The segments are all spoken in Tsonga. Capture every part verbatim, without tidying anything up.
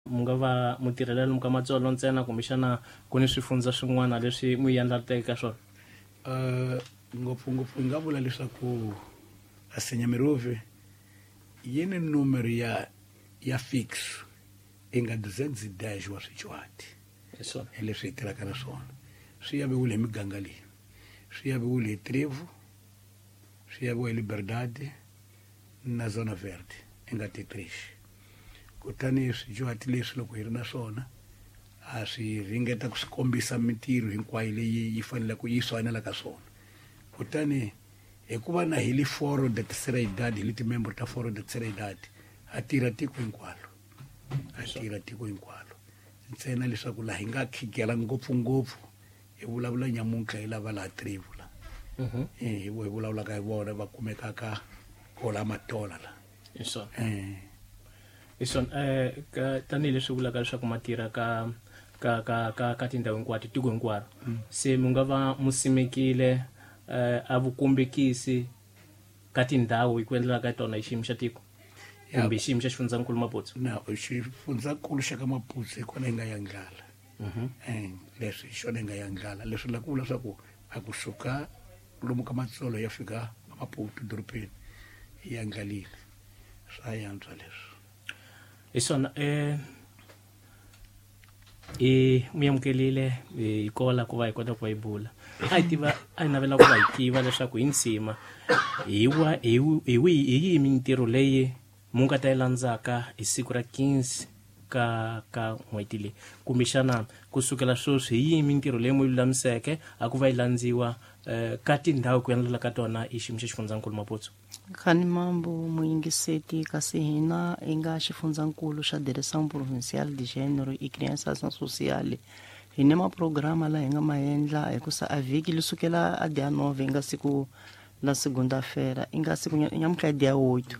Mu nga va mu tirhela lomu ka Matsolo ntsena kumbexana ku ni swifundza swin'wana leswi mu yandlateke ka swona? Uh, ngopfungopfu hi nga vula leswaku Asenyamirove yi ni numero ya ya fix i nga duzentos dez wa swidyuhati. Hi swona. Hi leswi hi tirhaka na swona. Swi yaviwile hi miganga leyi, swi yaviwile hi Trevo, swi yaviwa hi Liberdade na Zona Verde i nga T três. Kutani swidyuhati leswi loko hi ri na swona a swi ringeta ku swi kombisa mintirho hinkwayo leyi yi faneleke yi swi swona. Kutani hikuva na hi le Foro da Terceira Idade, hi le timembro ta Foro da Terceira Idade, ha tirha tiko hinkwalo, ha tirha tiko hinkwalo. Ntsena leswaku laha hi nga khigela ngopfungopfu hi vulavula nyamuntlha hi lava laha Trevo la, eh hi vo hi vulavulaka hi vona va kumekaka kola Matola la. Hi swona. eh Hi swona. eh ka tanihileswi vulaka leswaku ma tirha ka ka ka ka ka tindhawu hinkwato, tiko hinkwaro, se mu nga va mu simekile eh a vukombekisi ka tindhawu hi ku endlela ka tona hi xiyimo xa tiko kumbe xiyimo xa xifundzankulu Maputo? Na xifundzankulu xa ka Maputo hi kona hi nga yandlala. eh leswi hi xona hi nga yandlala, leswi la ku vula leswaku a kusuka lomu ka Matsolo ya fika Maputo dorobeni hi yandlalile, swa yantswa leswi. Hi swona. eh i mu amukelile hi kola ku va hi kota ku va hi bula. A hi tiva, a hi navela ku va hi tiva leswaku hi nsima hi wa hi hi wihi, hi yihi mintirho leyi mu nga ta yi landzaka hi siku ra quinze ka ka n'hweti leyi, kumbexana kusukela sweswi hi yihi mintirho leyi mu yi lulamiseke a ku va yi landziwa eh, ka tindhawu ku endlela ka tona hi xiyimo xa xifundzankulu Maputo? Khani mambo muyingiseti, kasi hina hi nga xifundzankulu xa Direção Provincial de Gênero e Criança Ação Social, hi ni maprograma la hi nga ma endla hikusa a vhiki li sukela a dia nove, hi nga siku la segunda-feira, i nga siku nyamuntlha i dia oito,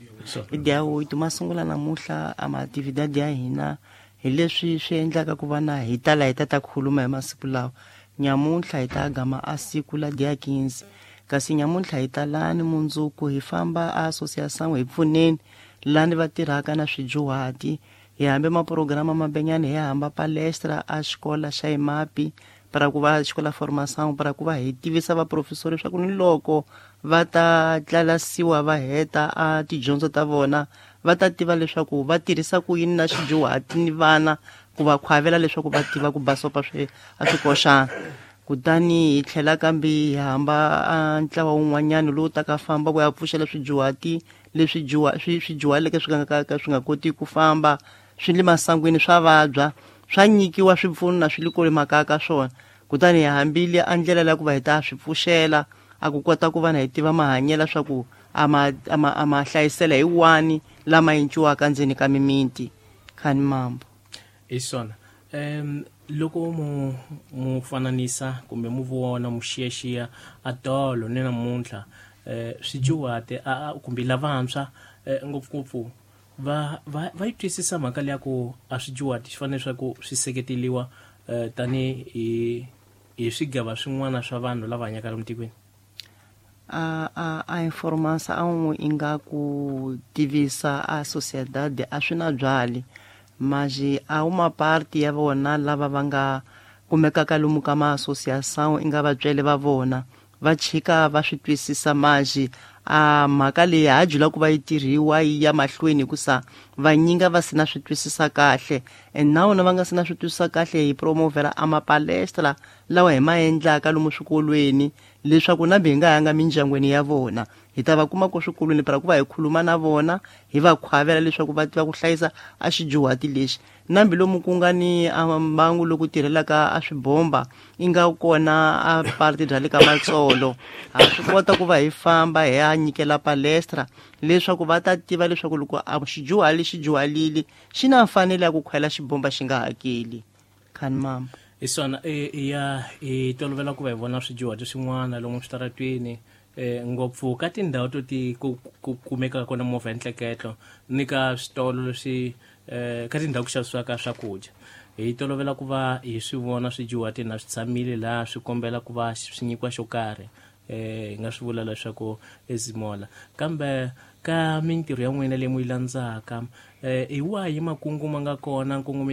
i dia oito ma sungula namuntlha a maatividade ya hina. Hi leswi swi endlaka ku va na hi tala hi ta ta khuluma hi masiku lawa. Nyamuntlha hi ta gama a siku la dia quinze, kasi nyamuntlha hi ta lani mundzuku hi famba a associação hi pfuneni lani va tirhaka na swidyuhati. Hi hambe maprograma mabenyani, hi hamba palestra a xikola xa imapi para ku va xikola formação, para ku va hi tivisa vaprofesori leswaku ni loko va ta tlalasiwa va heta a tidyondzo ta vona, va ta tiva leswaku va tirhisa ku yini na swidyuhati ni vana, ku va khwavela leswaku va tiva ku basopa swi a swi koxana. Kutani hi tlhela kambe hi hamba a ntlawa wun'wanyana lowu taka famba ku ya pfuxela swidyuhati leswi djuha swi swi dyuhaleke, swi nga ka swi nga koti ku famba, swi le masangwini, swa vabya, swa nyikiwa swipfuno na swi le kule makaya ka swona. Kutani hi hambile a ndlela leya ku va hi ta swi pfuxela a ku kota ku va na hi tiva mahanyelo swa ku a ma a ma a ma hlayisela hi wani lama enciwaka ndzeni ka mimiti. Khani mambo. Hi swona. um loko mu mu fananisa kumbe mu vona mu xiyaxiya a tolo ni namuntlha, eh swidyuhati a kumbe lavantshwa eh, ngopfungopfu va va va yi twisisa mhaka leya ku a swidyuhati swi fanele swa ku swi seketeliwa eh, tani hi hi swigava swin'wana swa vanhu lava hanyaka lomu tikweni? A a a informação a um inga ku tivisa a sociedade a swi na byali, mas a uma parte ya vona lava va nga kumekaka lomu ka ma-associação i nga vatswele va vona va chika va swi twisisa, mas a mhaka leyi ha jula ku va yi tirhiwa yi ya mahlweni hikusa vanyinga va si na swi twisisa kahle. And na vona va nga si na swi twisisa kahle, hi promovela a mapalestra lawa hi ma endlaka lomu swikolweni, leswaku na hi nga yanga mindyangwini ya vona, hi ta va kuma ko swikolweni para ku va hi khuluma na vona, hi va khwavela leswaku va tiva ku hlayisa a xidyuhati lexi. Nambi lomu ku nga ni a mbangu loku tirhelaka a swibomba i nga kona a parte bya le ka Matsolo, ha swi kota ku va hi famba hi ya nyikela palestra leswaku va ta tiva leswaku loko a xidyuhali xi dyuhalile xi na mfanelo ya ku khwela xibomba xi nga hakeli. Khani mamba. Hi swona. Ya hi tolovela ku va hi vona swidyuhati swin'wana lomu switaratwini, eh ngopfu ka tindhawu to ti ku ku kumekaka kona movha ya ntleketlo ni ka switolo leswi eh ka tindhawu ku xavisiwaka swakudya. Hi tolovela ku va hi swi vona swidyuhati na swi tshamile laha swi kombela ku va swi nyikiwa xo karhi, eh hi nga swi vula leswaku ezimola. Kambe ka mintirho ya n'wina leyi mu yi landzaka, eh hi wahi makungu ma nga kona nkongometo